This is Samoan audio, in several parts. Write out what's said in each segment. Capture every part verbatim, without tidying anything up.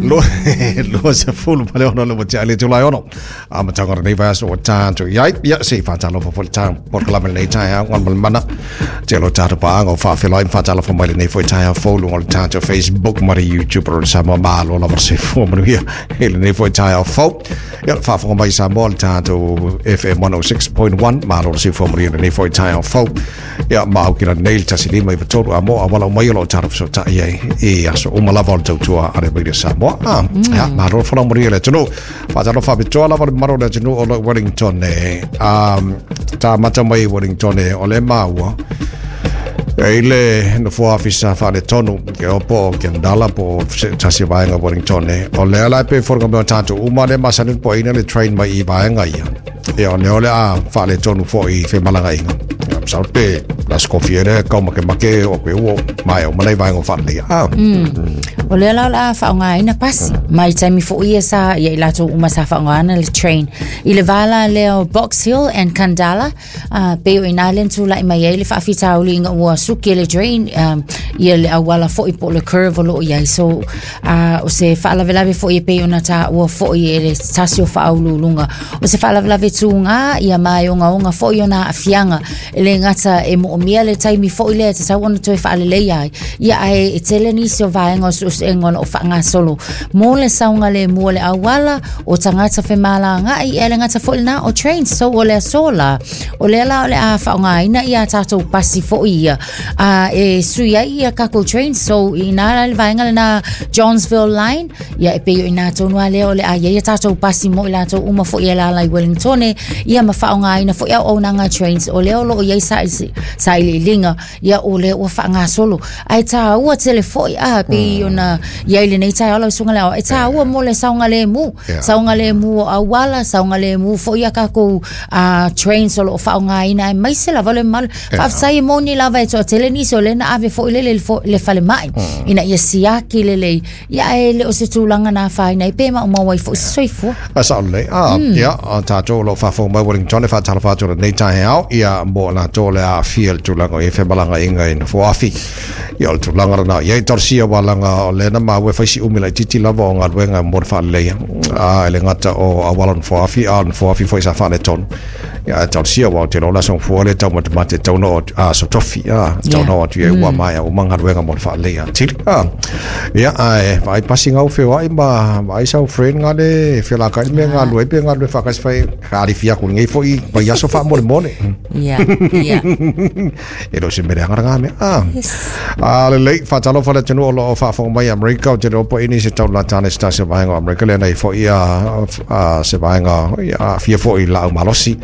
Lua sefulu ma le ono le ua le tulai ono. A matanga nei vaiaso ua tatou i ai. Ia se i faatalofa foi le tatou polokalame lenei taeao ona ma le mana. Te lo tatou paaga o faafeiloai ma faatalofa mai lenei foi taeao fou luga o le tatou Facebook ma le YouTube o le Samoa. Malo lava le soifua manuia i lenei foi taeao fou. Ia faafofoga mai Samoa le tatou F M one oh six point one. Malo le soifua manuia i lenei foi taeao fou. Ia maau kila nei le tasi lima i tolu a mo a wala mai o lo tatou fesotai ai i aso uma lava o le tautua a le Radio Samoa. Ah, ia malo le folau manuia le atunuu. Faatalofa faapitoa lava le mamalu o le atunuu o lo Wellington e. Um, ta mata mai Wellington e o le maua. E ile nofoa afisa faaletonu ke opo o Kendala po tasi vaenga Wellington e. O lea la pe foroga mea tatou uma le masani po ina le train mai i vaenga ia. E o lea o le a faaletonu foi i femalagaina. Ia masalo pe la skofia le kau make make o ke ua mai o manai vaenga o faaleleia. Ah. O lea la o le a faaaogaina pasi. Mai taimi foi ia sa ia i latou uma sa faaaogaina le train. I le vala lea o Box Hill and Kandala, uh, pe o ina le tulai mai ai le faafitauli ina ua suki le drain, um, ia le auala foi po le curve o loo iai. So, uh, o se faalavelave foi e pei ona taua foi e le tasi o faauluuluga. O se faalavelave tuga ia mai ogaoga foi ona aafiaga. E le gata e moomia le taimi foi lea e tatau ona toe faaleleia ai. Ia ae e tele nisi o vaega o suesuega o loo faagasolo mo le saogalemu o le auala o tagata femalagaai e le gata foi lena o trains. So o le aso la o lea la o le a faaaogaina ia tatou pasi foi ia a e sui ai ia kakou trains. So ina la le vaega lena Johnsville line ia e pei o ina tonu a lea o le a ia tatou pasi mo i latou uma foi e lala i Wellington ia ma faaaogaina foi auaunaga trains o lea o loo iai sailiiliga ia o lea ua faagasolo ae taua tele foi a pei ona iai lenei taeao lau susuga le ao e taua mo le saogalemu saogalemu o auala saogalemu foi ia kakou uh, trains o loo faaaogaina aemaise lava le mamalu. Faafetai e moni lava e toatele nisi o lea na ave foi lele le falemai ina ia siaki lelei ia ae le o se tulaga na afaina ai pe maumau ai foi se soifua. A sao lelei. Ah, ia tatou o loo faafofoga mai Wellington e faatalofa atu lenei taeao ia mo latou le aafia le tulaga o i femalagaina i nofoafi. Ia o le tulaga lena ia i talosia walaga o lena maua e faisi umi laititi lava o galuega mo le faaleleia. A e le gata o auala nofoafi a o nofoafi foi sa faaletonu. Ia e talosia ua o te lola sogafua le taumatemate tauna o aso tofi a tauna o atu ia ua maea uma galuega mo le faaleleia atili. A ia ae vaai pasi gau feoai ma vaai sau friend gale felakai mea galue pe galue faakasi fai alifia aku lenei foi vaiaso faamolemole. Ia, ia. E le o se mea leaga mea. Ah. A lelei faatalofa le atunuu o loo faafofoga mai Amerika o te leo po ini se taulatane se tasi o vaega o Amerika lea nei foi a se vaega ia aafia foi laau malosi.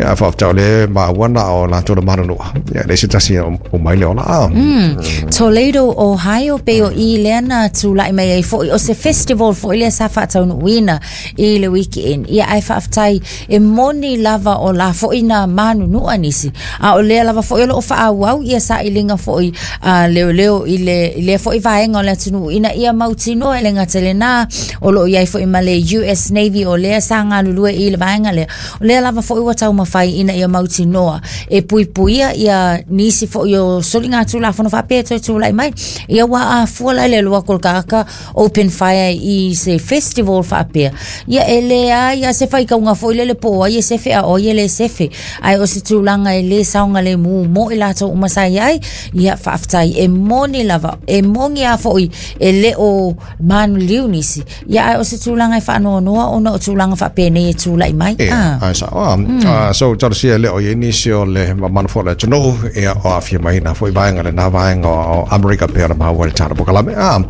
Ia faafetai le maua na o latou le manunua. Ia le se tasi o mai le ola. Ah. Mm. Toledo, Ohio pe o i lea na tulai mai ai foi o se festival foi lea sa faataunuuina i le weekend. Ia ae faafetai e moni lava o la foi na manunua nisi. A o lea lava foi o loo faaauau ia sailiga foi a leoleo i le i lea foi vaega o le atunuu ina ia mautinoa e le gata lena o loo iai foi ma le U S Navy o lea sa galulue i le vaega lea. O lea lava foi ua taumafai ina ia mautinoa e puipuia ia nisi foi o soliga tulafono faapea toe tulai mai. Ia ua afua la le lua kolokaka open fire i se festival faapea. Ia e leai a se faikauga foi lele po o ai e sefe a o ai e le sefe. Ae o se tulaga e le saogalemu mo i latou uma sa iai. Ia faafetai e moni lava e moni a foi e le o manuliu nisi. Ia ae o se tulaga e faanoanoa ona o tulaga faapenei e tulai mai. Ah. Ai sa. Ah, so talosia le o i nisi o le mamanu foi le atunuu ia o aafia mai na foi vaega lena vaega o Amerika pe ona maua le tala polokalame. Ah,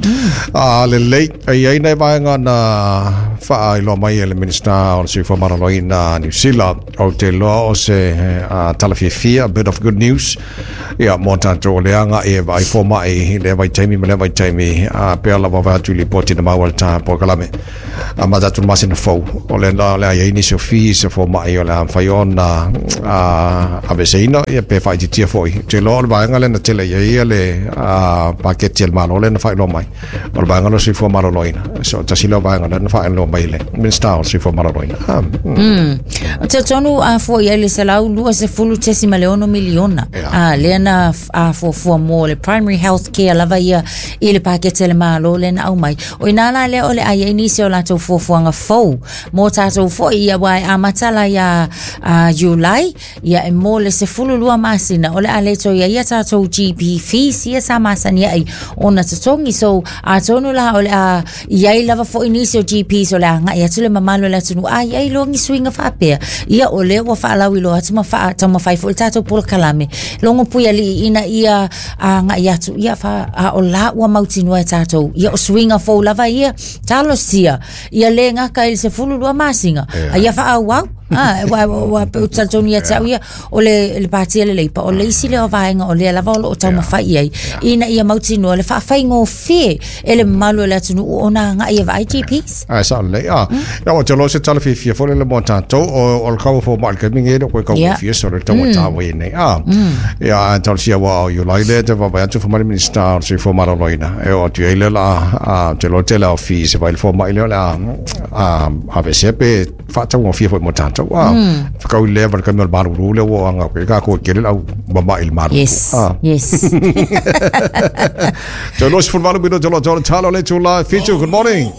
a lelei e iai nai vaega na faailoa mai e le Minista o le Soifua Maloloina Niu Sila o te loa o se tala fiafia, a bit of good news ia mo tatou leaga e vaai fomai le vaitaimi ma le vaitaimi a pea lava vaai atu i lipoti na maua le ta polokalame. A ma tatou masina fou o le la le ai nisi o fees o fomai o le a mafai ona ona aveseina ia pe faaitiitia foʻi te iloa o le vaega lea na tele i ai ia le paketi a le Malo lea na faailoa mai o le vaega lea o le soifua maloloina so tasi lea o vaega lea na faailoa mai e le Minista o le Soifua Maloloina. O talitonu a fua i ai le selau lua sefulu tesima le ono miliona a lea na fuafua mo le primary health care lava ia i le paketi a le Malo lea na aumai. O ina la lea o le a i ai nisi o latou fuafuaga fou mo tatou foʻi ia ua e amata la ia Iulai ia e mo le sefulu lua masina o le a le toe i ai ia tatou G P fees ia sa masani ai ona totogi. So atonu la o le a i ai lava foʻi nisi o G Ps o le a agai atu le mamalu o le atunuu a i ai loa ni suiga faapea ia o lea ua faalauiloa atu ma faataumafai foʻi le tatou polokalame logo puialii ina ia agai atu ia fa a o la ua mautinoa e tatou ia o suiga fou lava ia talosia ia le gaka i le sefulu lua masina a ia faaauau ah wa wa pe talitonu ia te au ia o le le pati le leipa o le isi lea o vaega o lea lava o loo taumafai i ai ina ia mautinoa le faafaigofie e le mamalu o le atunuu ona agai e vaai G Ps. Ae sao lelei a ia ua te loa se tala fiafia foi le mo tatou o le kau fo mai le taimi nei koe kau fia so le taugata ua i nei a ia ae talosia ua o Iulai lea te vaavaai atu fai mai le Minista o le Soifua Maloloina e oo atu ai lea la a te loa tele o fees e vai le fomai lea o le a aveesea pe faataugofie foi mo tatou a whakau i lea wale kami o le maruru lea ua anga koe ka koe kere lau mama i le maruru. Yes, yes. Te loa sefulu valu minute o lo tolo talo le tula fitu. Good morning.